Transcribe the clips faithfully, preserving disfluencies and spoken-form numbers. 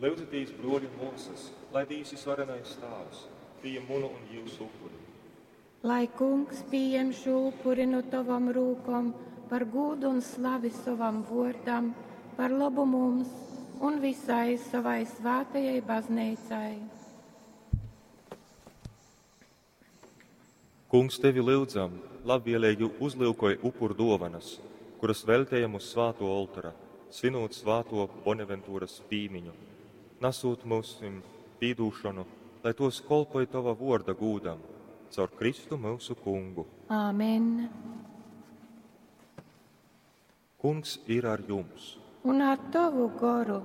Lyudzitīs, bruoļi un muosys, lai Dīvs Vysvarenais Tāvs pījem munu un jiusu upuri. Lai Kungs pījem šū upuri nu tovom rūkom par gūdu un slavi sovam vuordam, par lobu mums un visai sovai svātajai bazneicai. Kungs, tevi lyudzam, labvieleigi uzlyukoj upuru duovanas, kuras veļtejam uz svātuo oltora, svinūt svātuo Bonaventuras pīmiņu, nasūt myusim pīdūšonu, lai tuos kolpoj tova vuorda gūdam, caur Kristu myusu Kungu. Āmen. Kungs ir ar jums. Un ar tovu goru.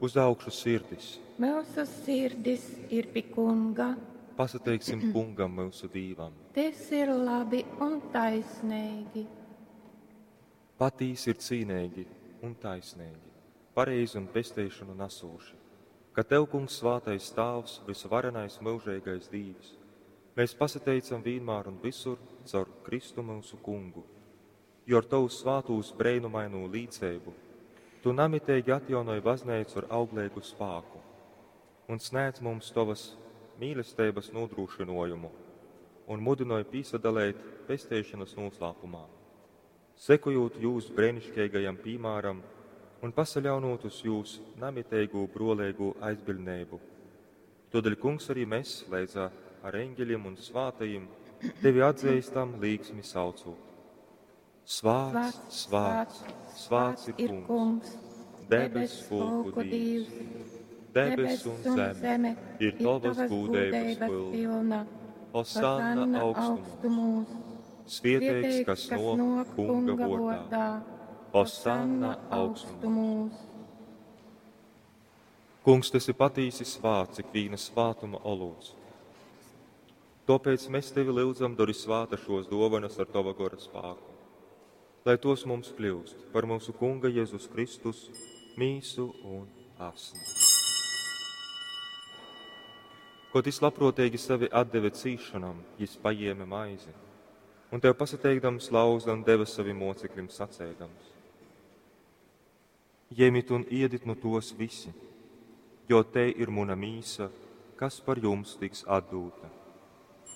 Uz augšu sirdis. Myusu sirdis ir pi Kunga. Pasateiksim Kungam myusu Dīvam. Tas ir labi un taisneigi. Patīsi ir cīneigi un taisneigi, pareizi un pesteišonu nasūši, ka Tev, Kungs, svātais Tāvs, vysvarenais myužeigais Dīvs, mēs pasateicam vīnmār un visur caur Kristu myusu Kungu, jo ar Tovu svātūs breinumainū līceibu Tu namiteigi atjaunoj bazneicu ar augleigu spāku un snēdz mums Tovas mīlesteibas nūdrūšynojumu un mudynoj pīsadaleit pesteišonas nūslāpumā, sekojūt jūs breiniškeigajam pīmāram un pasaļaunūt uz jūs namiteigū bruoleigū aizbiļdneibu. Todēļ, Kungs, arī mēs, leidzā ar eņģeļiem un svātajiem, tevi atzīstam līksmi saucot. Svāts, svāts, svāts ir Kungs, debes pulku Dīvs. Debes un zeme ir tavas gūdeibas pilna. Hosanna augstumos. Svieteigs, kas nāk Kunga vārdā. Hosanna augstumos. Kungs, tu esi patīsi svāts, ikvīna svātuma olūts. Tāpēc mēs tevi lūdzam, dori svāta šos dovanas ar tava gora spāku, lai tos mums kļūst par mūsu Kunga Jēzus Kristus mīsu un asni. Ko jis labprātīgi sevi atdeva cīšanam, jis paņēma maizi, un tev pasateikdams lauza un deva saviem mocekļiem sacēdams: Ņemiet un iedit nu tos visi, jo te ir muna mīsa, kas par jums tiks atdūta.